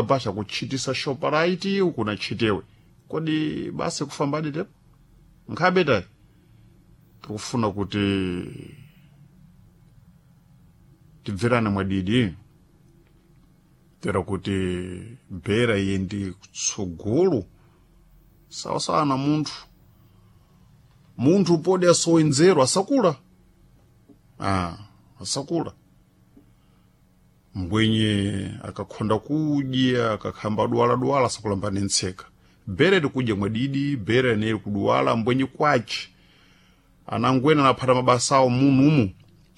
Basha kutchitisa Shoprite uku na tchitewe kodi basi kufambadi tepo nkhabe tayi tikufuna kuti tibverane mwadidi tera kuti bhera iye ndi kutsogolo sawasawa na munthu munthu podi asowe nzeru asakula asakula mbwenye akakhonda kudya akakhamba duwala-duwala asakulamba nentseka bhere likudya mwadidi bhere neli kuduwala mbwenye kwace anangwena anaphata mabasa awo munumu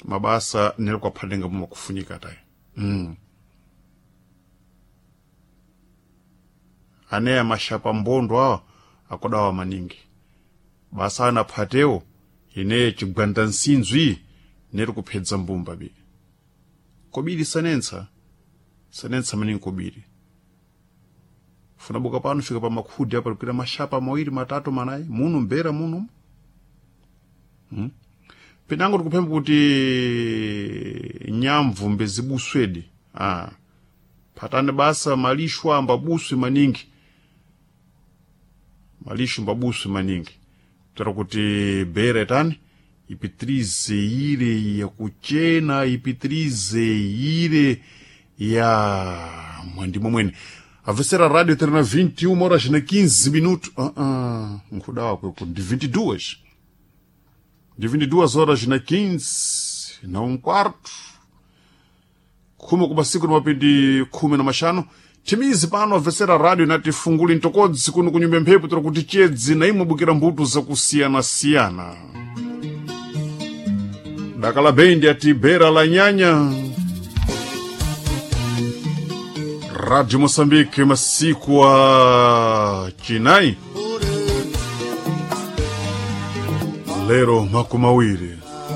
mabasa neli kwaphatenga mumakufunika tayi aneya mashapa mbondo awa akudawa maningi basa anaphatewo ine chigwanda nsinzwi neli kuphedza mbumba bi kobiri sanentsa sanentsa maningi kobiri funabuka pano fika pa makhudi apa likuita mashapa mawiri matatu manayi munu mbera munu pinango tikuphemba kuti nyamvu mbezibuswedi phatani basa malixo ambabuswi maningi malixo mbabuswi maningi tera kuti bere tani ipitirize ile ya kuchena ipitirize ile ya mwandimo mwene avesera radio terna 21 horas na 15 minutos nkudawa kweku ndi 22 ndi 22 horas na 15 na um quarto khumi kumasiku na mapindi khumi na maxanu chimizi pano avesera radio nati funguli ntokodzi kuno kunyumba mphepo tera kuti chedzi na imwe bukira mbuto zakusiyana-siyana dakala bendi ati bera la nyanya Radio Moçambique masiku a chinai lero makumi awiri.